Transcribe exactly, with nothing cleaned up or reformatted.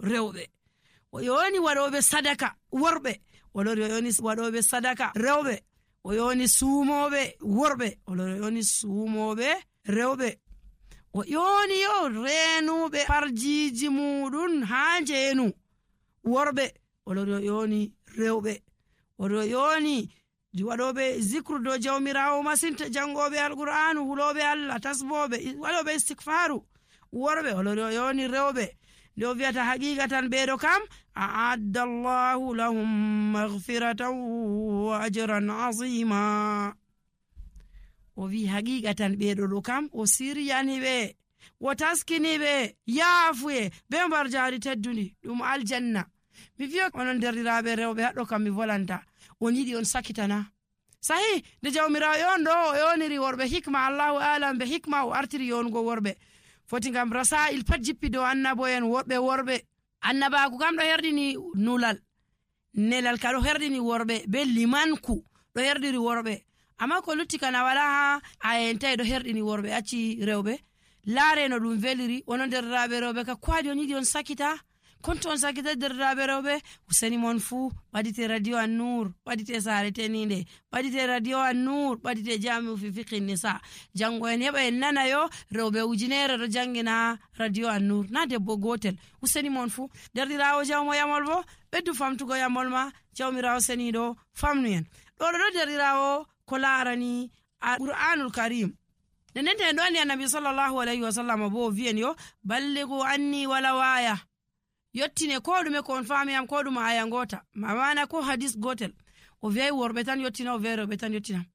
rewɓe. O yoni waɗoɓe sadaka worɓe, o lori o yoni waɗoɓe sadaka rewɓe. O yoni suumoɓe worɓe, o lori o yoni suumoɓe rewɓe. O yoni yo renuɓe farjiji muɗum ha njeenu worɓe, o lori o yoni rewɓe. O yoni waɗoɓe zikru do jawmirawo masinta, jangoɓe alqur'anu, huloɓe Allah, tasboɓe, waɗoɓe istikfaru worɓe, o lori o yoni rewɓe. nde o wiyata haqiqatan ɓeɗo kam a'adda Allahu lahum maghfiratan wa ajran azima. O wi haqiqatan ɓeɗo ɗo kam o siryaniɓe, o taskiniɓe yaafuye be mbar jari teddudi ɗum aljanna. mi wiya onon derɗiraɓe rewɓe haɗɗo kam mi volanta, on yiɗi on sakitana sahi nde jawmirawo yon ɗo o yoniri worɓe hikma, Allahu alam be hikma o artiri yonugo worɓe, foti ngam rasa'il pat jippi dow annabo en worɓe worɓe. Annabaku kam ɗo herdini nulal, nelal ka ɗo herdini worɓe, be limanku ɗo herdiri worɓe, amma ko lutti kana wala ha ayentai ɗo herdini worɓe acci rewɓe. Laare no ɗum veliri, onon derɗiraɓe rewɓe ka kwadi on yiɗi on sakita, konto on sakita derɗiraɓe rewɓe. Useni mon fuu ɓadite radio An-Nur, ɓadite Sare Teninde, ɓadite radio An-Nur, ɓadite Jami'u fi Fiqhin Nisa. Jango en heɓa en nana yo rewɓe ujunere ɗo jangina radio An-Nur, na debbo gotel. Useni mon fuu derɗirawo jawmo yamol bo ɓeddu famtugo yamol ma, jawmirawo seniɗo famnu en. ɗo ɗo derɗirawo ko larani Qur'anul Karim. Nenente en ɗo andi Annabi sallallahu alaihi wasallam bo wi'en yo ballighu anni wala waya, yottine ko ɗume ko on famiyam, ko ɗum aya ngota, mamana ko hadis gotel. O wi'ai worɓe tan yottina, o wi'ai rewɓe tan yottina.